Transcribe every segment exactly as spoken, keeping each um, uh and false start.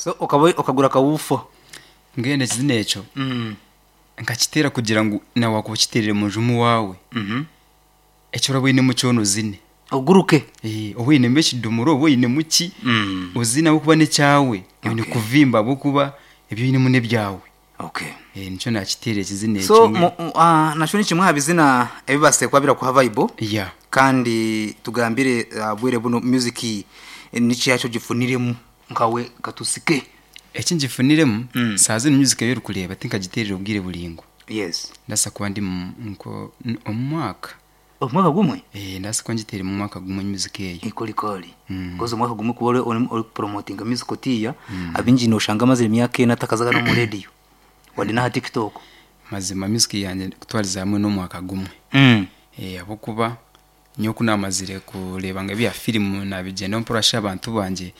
So okaba okagura akawuufa. Mbwenu ekizina ekyo Mm. nkakiteera kugira ngu nawe wakuba okiteerire munju omuwaawe, Mhm. eki oraba oinemu kyona ozine. Oguruke. Eh, oba oinemu ekidomora oba oinemu ki, Mm. ozine ahabw'okuba n'ekyawe, oine Okay. kuvimba ahabw'okuba ebi oinemu n'ebyawe. Okay. Eh, nikyo naakiteera ekizina ekyo. So mbwenu. mu- mu- ah, nakyo ni kimwe aha bizina ebibaasire kuba birakuha vibe. Yeah. Kandi tugambire ah, bwire buno music eh, niki yakyo gifuniremu nkawe katusike. Eki ngifuniremu, Mm. saa zinu music ei orikureeba tinkagiteerire obwire buraingwa. Yes. Ndabaasa kuba ndi mu- nko omu mwaka. Omwaka gumwe? Eh, ndabaasa kuba ngiteire mu mwaka gumwe music eyo. Ikolikoli. Mm. Kozi omwaka gumwe kuba ori- ori ori kupromotinga music otiya, abingi noshanga amazire emyaka ena atakazaga n'omu radio. Wadde n'aha TikTok. Mazima music yangye kutwariza hamwe n'omwaka gumwe. Mm. Eh, ahabw'okuba nyowe ku naamazire kureeba ngu ebya firimu nabigyendaho mpora shi abantu bangye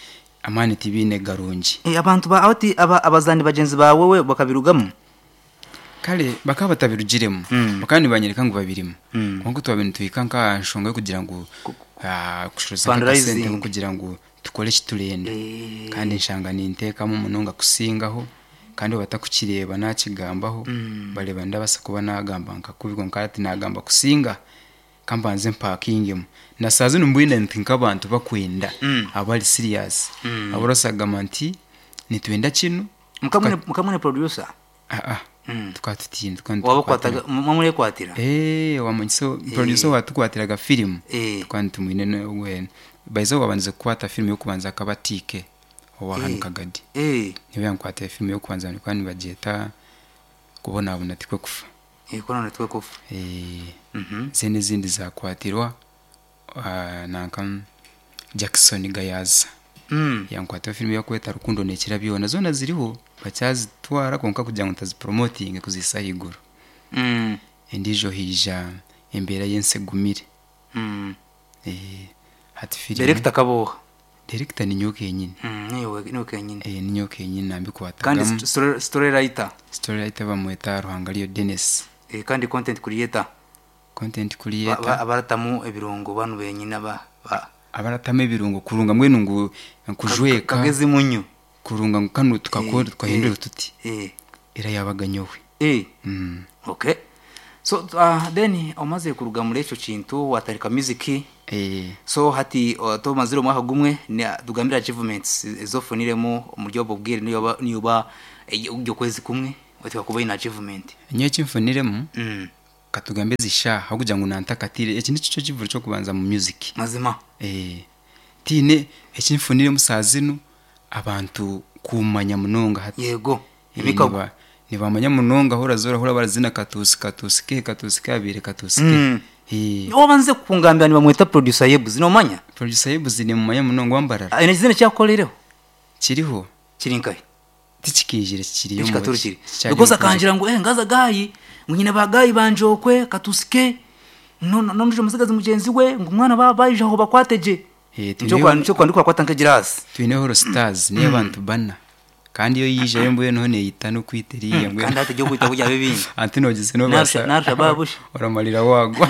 amaani tibiine garungi. Eh, abantu ba ati aba abazani bagyenzi bawe we bakabirugamu. Kare bakaba batabirugiremu, Mm. bakaba nibanyereka ngu babirimu. Mm. Kwonka twaba nituhika nk'aha nshonga y'okugira ngu ah, kushoroza Fundraising. nk'akasente k'okugira ngu tukore eki turenda. Eh. Kandi nshanga ninteekamu munonga kusingaho, kandi batakukireeba naakigambaho, Mm. bareeba ndabaasa kuba naagamba nka kubi kwonka hati naagamba kusinga, kambanze mpakingemu. Na saa zinu mbwine nti nk'abantu bakwenda, Mm. abari serious. Mm. Abu orasagamba nti nitwenda kinu. Mukamwine mukamwine producer. Ah ah. Mm. Tukaba tutiine, tukaba Waba nitukwatira. kwataga mwamurekwatira. Eh, wamanyiso producer watukwatiraga firimu. Eh. Tukaba nitumwine we baiza wabanze kukwata firimu y'okubanza akaba T K owa hanu Eh. Kagadi. Eh. Niwe yankwatira firimu y'okubanza, nikuba nibagyeta Kubonabona Tikwe Kufa. Eh, kona netwe kufa. Eh, Mhm. zene ezindi zakwatirwa ah, nanka Jackson Gayaza. Mm. Yankwatira firimu yokweta Rukundo Nekira Byona, zoona ziriho bakyazitwara kwonka kugira ngu ntazipromotinge kuzisa ahaiguru. Mm. Endiijo haija Embeera y'Ensi Egumire. Mm. Eh, hati firimu Director kaboha. Director ni nyowe kenyini. Mm, niwe niwe kenyini. Eh, ni nyowe kenyini Kandi nambikwatagamu. st- story, story writer. Story writer bamweta Ruhangariyo Dennis. Eh, kandi content creator. Content Ba- creator. ba- abaratamu ebirungo banu benyini aba ba Abaratamu ebirungo kurunga mbwenu ngu kujweka. Kagezi munyu. Kurunga ngu kanu tukakora, Eh, tukahindura eh, tuti. Eh. Era yabaga nyowe. Eh. Mm. Okay. So uh, then omaze kuruga muri ekyo kintu watarika music. Eh, So hati uh, tomazire omwaka gumwe ni- tugambire achievements ezofuniremu omuri obwo bwire, niyo niyo ibyo kwezi kumwe otika kuba ina achievement. Nyowe ekimfuniremu, Mm. katugambe zisha aho kugira ngu nantakatire, eki nikyo kivuro ky'okubanza mu music. Mazima. Eh, tiine ekimfuniremu saa zinu, abantu kumanya munonga hati. Yego. Eh, Emikago. niba- nibamanya munonga aho orazora ahora barazina Katuusi, Katuusi ke, Katuusi kabiire, Katuusi ke. Mm. Eh, Obanze kungambira nibamweta producer Yebuzi, nomanya? Producer Yebuzi nimumanya munonga wambarara. Aine ekizina kyakukorereho? Kiriho. Kiri nkahe? Tikikijire, kikiriyo. Ekikaturukire. Kikyari Because mu project. akangira ngu eh ngaza gayi ngu nyina bagayi banjokwe katusike no no no musigazi mugenzi we ngu umwana ba bayije aho bakwateje. Eh, nicyo twineho- kwa nicyo kwandikwa kwata nk'egirasi. Twineho Horo Stars niyo abantu bana, kandi iyo yijayo mbwenu ho neyita n'okwita eriya mbwenu. Kandi hati kwita kujya bibindi. Anti nogize nobasa. Narusha- narusha babusha. Oramalira wagwa.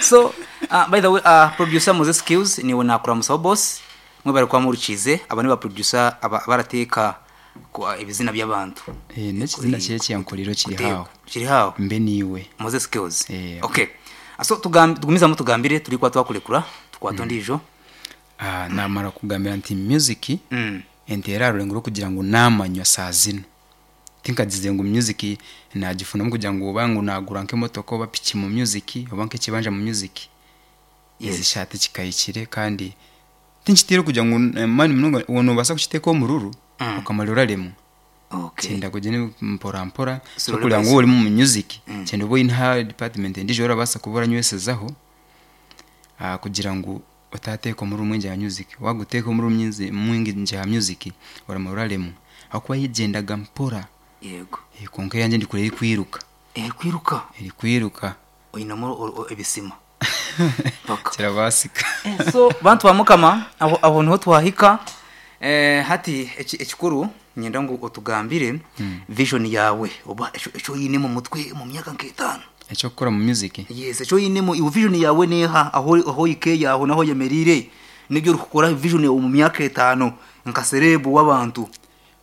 So uh, by the way, uh, producer Moses Skills niwe nakuramusaho boss mwe bari kwa murukize aba ni ba producer aba barateka kwa ibizina by'abantu. Eh, n'ekizina kye kyankorero kiri Kuteka. hawo. Kiri hawo. Mbe niwe. Moses Skills. Eh. Okay, so tugam- tugumizamu tugambire turi kwa twakurekura tukwata ndijo. Ah, namara kugambira nti music mm. enteera rurengo rw'okugira ngu namanywa saa zinu, tinkagize ngu music nagifunamu kugira ngu oba ngu nagura nk'emotoka oba piki mu music oba nk'ekibanja mu music. Yes. Ezi shati kikahikire kandi tinkitiire kugira ngu eh, mani munonga nobaasa kukiteeka omururu, Mm. okamara oraremwa. Okay Kyenda kugyenda mpora mpora. Slowly Sokureba by ngu ori mu music, Mm. kyenda oba oine ha department endiijo orabaasa kuba oranywesezaho, ah, kugira ngu otateeka omururu mwingi aha music. Waguteeka omururu mwingi mwingi aha music oramara oraremwa ahakuba yegyendaga mpora. Yego. Eh, kwonka eyangye ndikureba erikwiruka. Eh, kwiruka. Erikwiruka. Oinamo o- o- ebisima paka. Kirabaasika. Eh, so bantu ba mukama, aho aho niho twahika. eh, hati eki- ekikuru nyenda ngu otugambire vision yawe oba ekyo ekyo oyine mu mutwe mu myaka nk'etaano. Ekyokukora mu music? Yes, ekyo oyinemu iwe, vision yawe neha aho aho ikeya aho naho yemerire nibyo uri kukora, vision yawe mu myaka etaano Nka celeb w'abantu.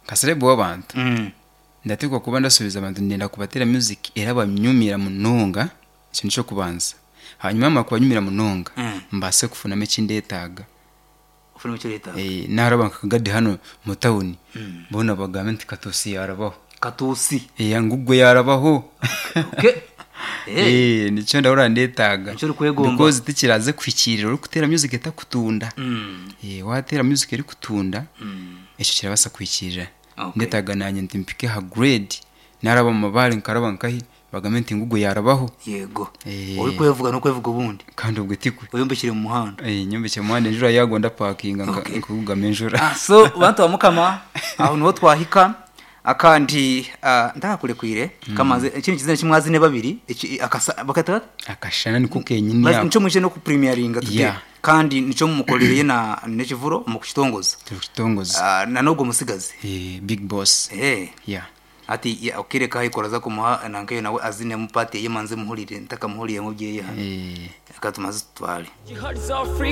Nka celeb w'abantu, Mm. ndateekwa kuba ndasuubiza abantu, ndenda kubateera music era banyumira munonga. Ekyo nikyo kubanza. Hanyuma yamara kubanyumira munonga, Mm. mbaase kufunamu ekindetaaga. Ufuna icyo leta. Eh, naharaba nkakagadi hano mu tawuni, boona bagambe nti Katuusi yarabaho. Katusi. Eh, ngugwe yarabaho. Okay, eh. Eh, nikyo ndahurira ndetaaga. Nikyo orikwegomba. Because tikiraze kuhikiirira orikuteera music etakutunda. Mm. Eh, wateera music erikutunda, Mm. ekyo kirabasa kuhikiirira. Okay. Ndetaaga nanye nti mpike ha grade, naraba mu mabaare, nkaraba nkahi, bagambe nti ngugwe yarabaho. Yego. Eh. Uri kwevuga no kwevuga ubundi. Kandi ubwo tikwe. Uyombekire mu muhanda. Eh, nyombekye mu muhanda, enjura yagwa ndapakinga nka- Okay. nkakugama enjura. Ah, so bantu ba Mukama, aho niho twahika. Akandi ah, ndakakurekwire kamaze ikindi kizina kimwazine babiri iki akasa bakata. Akashana niko kenyini. Basi Ako nico mwije no kupremieringa today. Yeah. Kandi nico mumukorereye na nekivuro mu kukitongoza. Tukitongoza. Ah, na nubwo musigazi. Eh, big boss. Eh. Yeah. Ati ya, ukireka hayikoraza kumuha nankeyo nawe azine mupati yemanze muhurire ntakamuhuriye mu byeye hano. Eh. Akatumaze tutware. Jihad Africa.